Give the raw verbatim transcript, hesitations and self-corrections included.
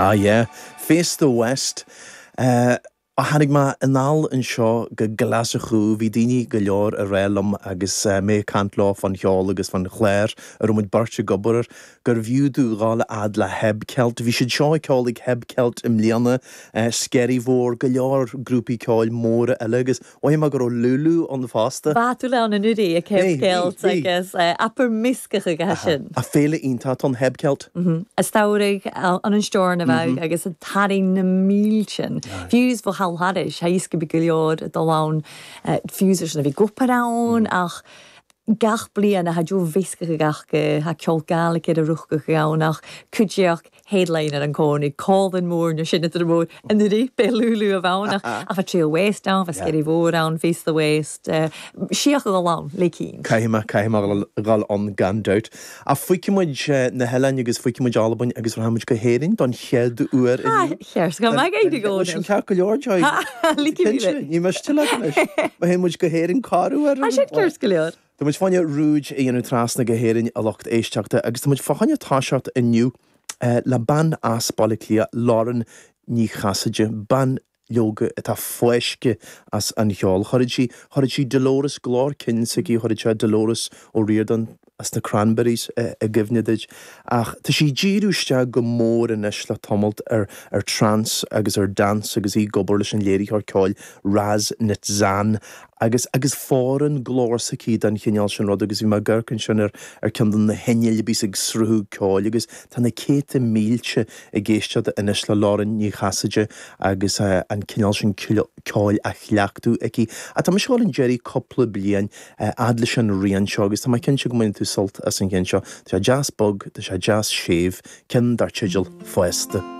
Ah yeah, Face the West. Uh, a tháinig mé anall anseo go Glaschú bhí daoine go leor ag rá liom agus uh, mé ag caint leo fan cheol agus fan chlár a raibh muid beirt ag obair air gurbh fhiú domh dhul a fhad le HebCelt. Bhí siad seo ag ceol ag HebCelt i mbliana uh, Skerryvore go leor grúpaí ceoil móra eile agus mhothaigh mé go raibh Lulu ann fosta. Ba tú le an nuí ag HebCelt agus apar miscach ag sin. A féile iontach an HebCelt. A stairigh an an steir na bheith agus a taring na mílsin. Fiús bh haris ha go be go leor dul ann fiús na bhí gopar ann ach gach bliain a ha jo visca gach ha ceol Gaeilge a rucha ann ach cuideach headliner an cóí Cólan mór na sinna mór an rí be Lulu a bhna a fa Trail West ann, fa Skerryvore ann, Face the West, siach go ann le cín. Caithfidh caithfidh dhul ann gan dabht. A fuimuid na heile agus fuimuid Albain agus rachaimid go hÉirinn don chéad uair Cheir go me go sin ceart go leor Ní me te Ma muid go hÉirinn carúir sé ceart go leor. Tá muid fáinne rúid a dhéanamh trasna go hÉirinn a lucht éisteachta agus tá muid fá choinne toiseacht inniu le bean as Baile Átha Cliath Lauren Ní Chasaide bean leoga atá fáiscthe as an cheol. Chuir sí chuir sí Dolores glór cinn s'aici chuir sé Dolores O'Riordan as na Cranberries i gcuimhne duit. Ach tá sí díriú isteach go mór anois le tamalt ar ar trance agus ar dance agus í ag obair leis an léiritheoir ceoil Raz Nitzan agus agus fóireann glór s'aici den chineál sin rud agus bhí mé ag amharc ansin ar ar ceann de na hinnill a bhíos ag sruthú ceoil agus tá na céadta mílte ag éisteacht anois le Lauren Ní Chasaide agus uh, an cineál sin ceoil a chleachtadh aici. A tá seo an deireadh cúpla bliain uh, fhad leis an rian seo agus tá mé cinnte go mbainfidh tú sult as an gceann seo. Tá sé deas bog, tá sé deas séimh, ceann dar teideal Fásta.